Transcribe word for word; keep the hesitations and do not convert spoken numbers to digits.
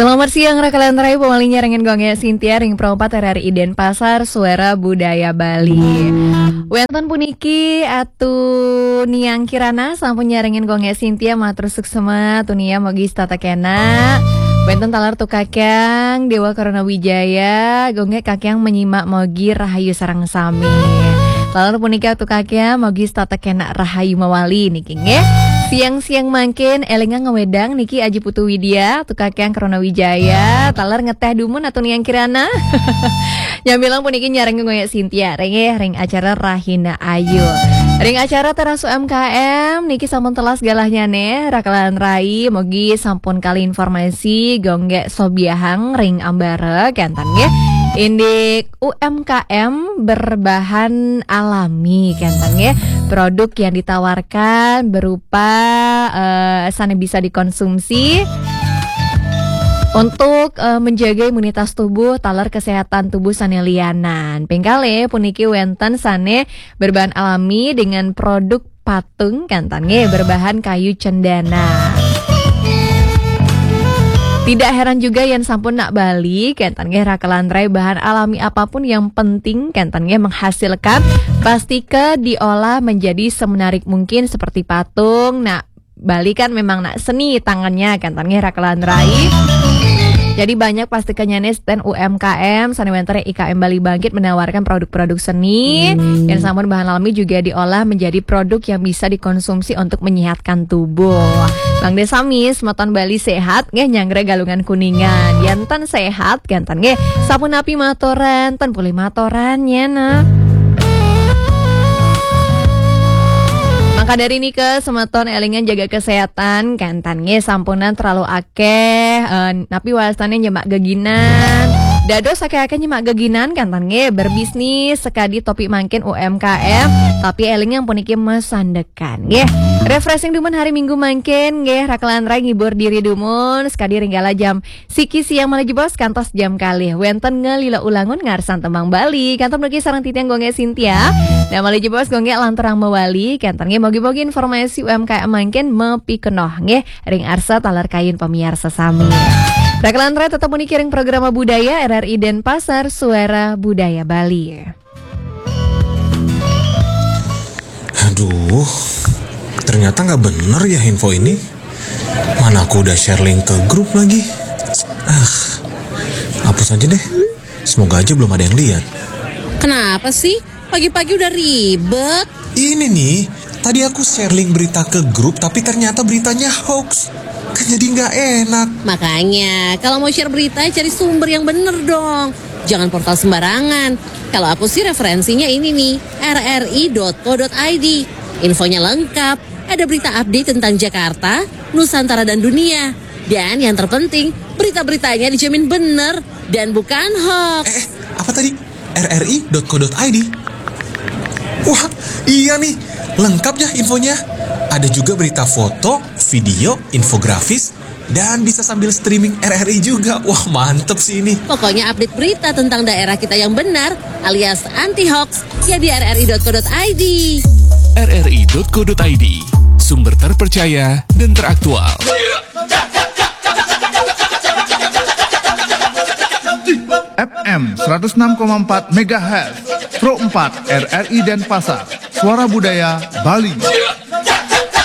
Selamat siang, Rakalan Rai, pamali nyarengin Gung Gé Sintia ring Pro empat R R I Denpasar, Suara Budaya Bali. Wénten puniki Atu Niang Kirana sampun nyarengin Gung Gé Sintia, matur suksma, Atu Niang mogi setata kénak. Wénten taler Atu Kakyang Déwa Karana Wijaya, Gung Gé Kakyang menyimak mogi rahayu sareng sami. Taler puniki Atu Kakyang mogi setata kénak rahayu mawali niki nggih. Siang-siang mangkin élingang ngawedang niki Aji Putu Widya, Atu Kakyang Karana Wijaya, taler ngeteh dumun Atu Niang Kirana. Nyamilang puniki nyarengin Gung Gé Sintia ring, nggih, ring acara Rahina Ayu. Ring acara Teras U M K M niki sampun telas galahnya nih, Rakalan Rai, mogi sampun kalih informasi Gung Gé sobiahang ring ambara kénten nggih. Indik U M K M berbahan alami kénten nggih. Produk yang ditawarkan berupa eh, sané bisa dikonsumsi untuk eh, menjaga imunitas tubuh, taler kesehatan tubuh sané lianan. Ping kalih puniki wénten sané berbahan alami dengan produk patung kénten nggih, berbahan kayu cendana. Tidak heran juga yén sampun nak Bali, kénten nggih, Rakalan Rai, bahan alami apapun yang penting kénten nggih menghasilkan, pastika diolah menjadi semenarik mungkin seperti patung. Nah, Bali kan memang nak seni tangannya, kénten nggih, Rakalan Rai. Jadi banyak pastikanya nih stand U M K M, sané wénten I K M Bali Bangkit menawarkan produk-produk seni yang sampun bahan alami juga diolah menjadi produk yang bisa dikonsumsi untuk menyehatkan tubuh. Mangda sami semeton Bali sehat nggih, nyanggra Galungan Kuningan. Yén ten sehat, kénten nggih, sapunapi matoran, ten polih matoran ya nah. Maka dari nika semeton élingan jaga kesehatan, kénten nggih, sampunang terlalu akeh eh, napi wastané nyemak geginan. Dados akeh-akeh nyemak geginan, kénten nggih, berbisnis sekadi topi mangkin U M K M, tapi élingang puniki masandekan nggih. Refreshing dumun hari Minggu mangkin nggih, Rakalan Rai ngibur diri dumun sekadi ring kala jam siki siang malih jebos kantos jam kalih. Wénten ngalila ulangun ngarsan tembang Bali. Kantos mriki sareng titiang Gung Gé Sintia. Nah, malih jebos Gung Gé lanturang mawali, kénten nggih, mogi-mogi informasi U M K M mangkin mapikenoh nggih ring arsa taler kayun pamiarsa sami. Rakalan Rai tetep puniki ring Programa Budaya R R I Denpasar, Suara Budaya Bali. Aduh, ternyata nggak bener ya info ini. Mana aku udah share link ke grup lagi. Ah, hapus aja deh. Semoga aja belum ada yang lihat. Kenapa sih? Pagi-pagi udah ribet. Ini nih, tadi aku share link berita ke grup, tapi ternyata beritanya hoax. Kan jadi nggak enak. Makanya, kalau mau share berita, cari sumber yang bener dong. Jangan portal sembarangan. Kalau aku sih referensinya ini nih, R R I dot co dot I D. Infonya lengkap, ada berita update tentang Jakarta, Nusantara dan dunia. Dan yang terpenting, berita-beritanya dijamin bener dan bukan hoax. Eh, apa tadi? R R I dot co dot I D. Wah, iya nih, lengkap ya infonya. Ada juga berita foto, video, infografis, dan bisa sambil streaming R R I juga. Wah, mantep sih ini. Pokoknya update berita tentang daerah kita yang benar alias anti hoax ya di R R I dot co dot I D. R R I dot co dot I D, sumber terpercaya dan teraktual. F M seratus enam koma empat megahertz, Pro empat R R I Denpasar, Suara Budaya Bali.